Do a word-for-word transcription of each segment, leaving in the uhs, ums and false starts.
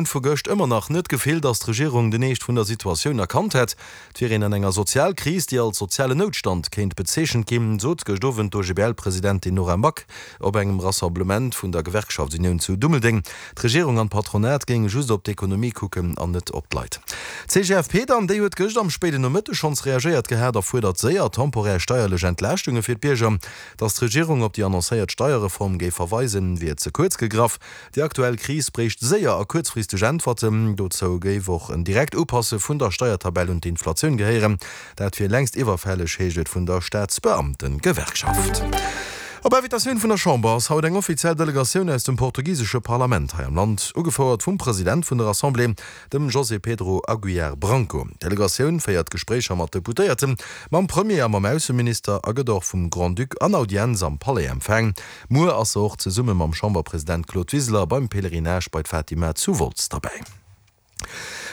vu gëscht ëmmer nach net d'Gefill, datt d'Regierung den Eescht vun der Situatioun erkannt hätt. Et wier een an enger Sozialkris, déi als sozialen Noutstand kéint bezeechent ginn, sot gëscht Owend d'OGBL-Presidentin Nora Back op engem Rassemblement vun der Gewerkschaftsunioun zu Dummeldeng. D'Regierung an d'Patronat géinge just op d'Ekonomie kucken an net op d'Leit. D'CGFP dann, déi huet gëscht am spéiden Nomëtteg schonns reagéiert gehat a fuerdert séier temporär steierlech Entlaaschtunge fir d'Bierger. Datt d'Regierung op déi annoncéiert Steierreform géif verweisen, wier ze kuerz gegraff. Déi aktuell Kris bréicht séier a kuerzfristeg Äntwerten. Dozou géif och en direkt Upasse vun der Steiertabell un d'Inflatioun gehéieren. Dat wier längst iwwerfälleg, heescht et vun der Staatsbeamtengewerkschaft. Op Invitatioun vun der Chamber ass haut eng offiziell Delegatioun aus dem portugisesche Parlament hei am Land, ugefouert vum President vun der Assemblée, dem José Pedro Aguiar Branco. D'Delegatioun féiert Gespréicher mat Deputéierten, mam Premier a mam Ausseminister a gëtt och vum Grand-Duc an Audienz am Palais empfaang. Muer ass se och zesumme mam Chamberpresident Claude Wiseler beim Pèlerinage bei d'Fatima zu Wolz derbäi.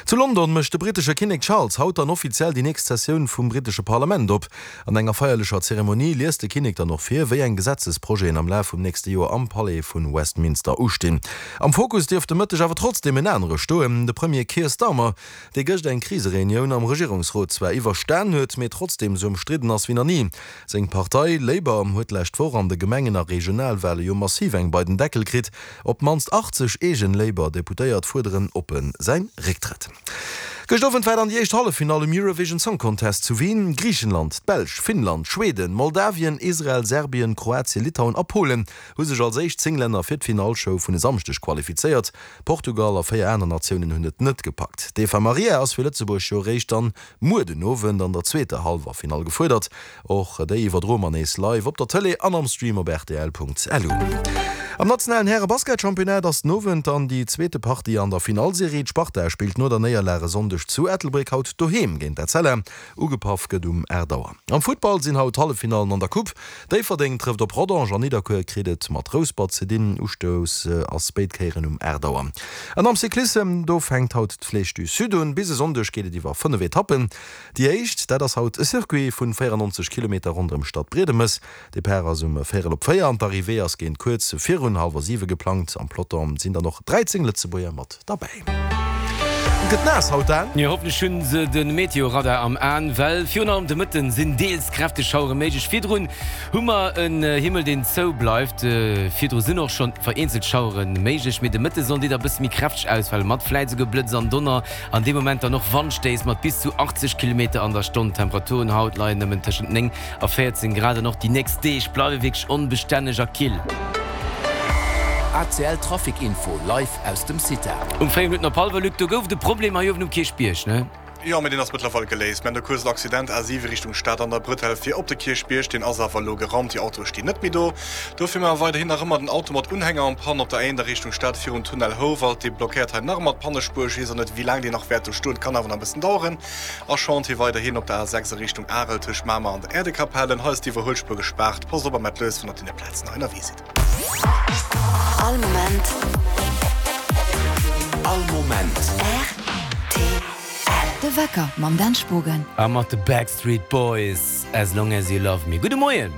Zu London mécht de brittesche Kinnek Charles haut dann offiziell déi nächst Sessioun vum brittesche Parlament op. An enger feierlecher Zeremonie liest de Kinnek dann och vir, wéi eng Gesetzesprojeten am Laf vum nächste Joer am Palais vu Westminster ustinn. Am Fokus dierft de Mëtteg awer trotzdeem en anere stoen, de Premier Keir Starmer, dee gëscht eng Krisereunioun am Regierungsrot zwar iwwerstan huet, mee trotzdeem esou ëmstridden ass wéi nach ni. Seng Partei Labour huet d'lescht Woch an de Gemengen a Regionalwale jo massiv eng bei den Deckel kritt. Op d'mannst achtzeg eegen Labour-Deputéiert fuerderen oppe säin Récktrëtt. Gëscht Owend war dann déi éischt Halleffinall um Eurovision Song Contest zu Wien. Griichenland, d'Belsch, Finnland, Schweden, Moldawien, Israel, Serbien, Kroatien, Litauen a Polen hu sech als éischt zéng Länner fir d'Finallshow vun e Samschdeg qualifizéiert. Portugal a véier aner Natiounen hunn et net gepackt. D'Eva Marija ass fir Lëtzebuerg jo eréischt dann muer den Owend an der zweeter Hallwerfinall gefuerdert. Och déi iwwerdroe mer nees live op der Tëlee an am Stream op rtl.lu. Am nationalen Häre-Basketchampionnat ass den Owend dann déi zweete Partie an der Finallserie. D'Sparta spillt no der Néierlag e Sonndeg zu Ettelbréck haut doheem géint d'Etzella. Ugepaff gëtt um aacht Auer. Am Futtball sinn haut d'Halleffinallen an der Coupe. Déifferdeng trëfft op Rodange an Nidderkuer kritt et mat Rouspert ze dinn. Ustouss ass béid Kéieren um aacht Auer. An am Cyclissem, do fänkt haut d'Flèche du Sud un. Bis e Sonndeg geet et iwwer fënnef Etappen. Déi éischt, dat ass haut e Circuit vun véierannonzeg Kilometer ronderëm Stad Briedemes. Depart ass um véierel op véier an d'Arrivée ass géint kuerz virun hallwer siwe geplangt. Am Peloton sinn dann och dräizéng Lëtzebuerger mat derbäi. Et gëtt naass haut, Dan. Jo, hoffentlech hunn se de Meteoradar am Aen, well virun allem de Mëtten sinn deels kräfteg Schauere méiglech. Virdrun hu mer en Himmel, deen zou bleift. Virdru sinn och schonn vereenzelt Schauere méiglech, mee de Mëtte sollen déi da bësse méi kräfteg ausfalen, mat vläit esouguer Blëtz an Donner an dee Moment dann och Wandstéiss mat bis zu achtzeg Kilometer an der Stonn. D'Temperaturen haut leien nëmmen tëschent néng a véierzéng Grad an och déi nächst Deeg bleiwe wierklech onbestänneg a kill. A C L Trafic Info live aus dem Cita. Um véier Minutten op hallwer, Luc, do gouf et e Problem hei uewen um Kierchbierg, ne? Jo, mee deen ass mëttlerweil geléist. Mir haten e kuerzen Accident, A siwe Richtung Stad an der Bretelle fir op de Kierchbierg. Deen ass awer elo geraumt, déi Autoe stinn net méi do. Dofir hu mer weiderhin nach ëmmer den Auto mat Unhänger en panne op der A eent a Richtung Stad virum Tunnel Houwald. Dee blockéiert hei nach ëmmer d'Pannespuer. Ech weess och net, wéi laang deen nach wäert do stoen, kann awer nach e bëssen daueren. A Chantier weiderhin op der A sechs a Richtung Arel tëscht Mamer an der Äerdekapellen. Hei ass d'Iwwerhuelspuer gespaart. Passt op a maacht lues, wann der op deene Plazen hei ënnerwee sidd. All Moment. All Moment. R T L. De Wecker mam Dan Spogen. A mat de Backstreet Boys, As Long As You Love Me. Gudde Moien!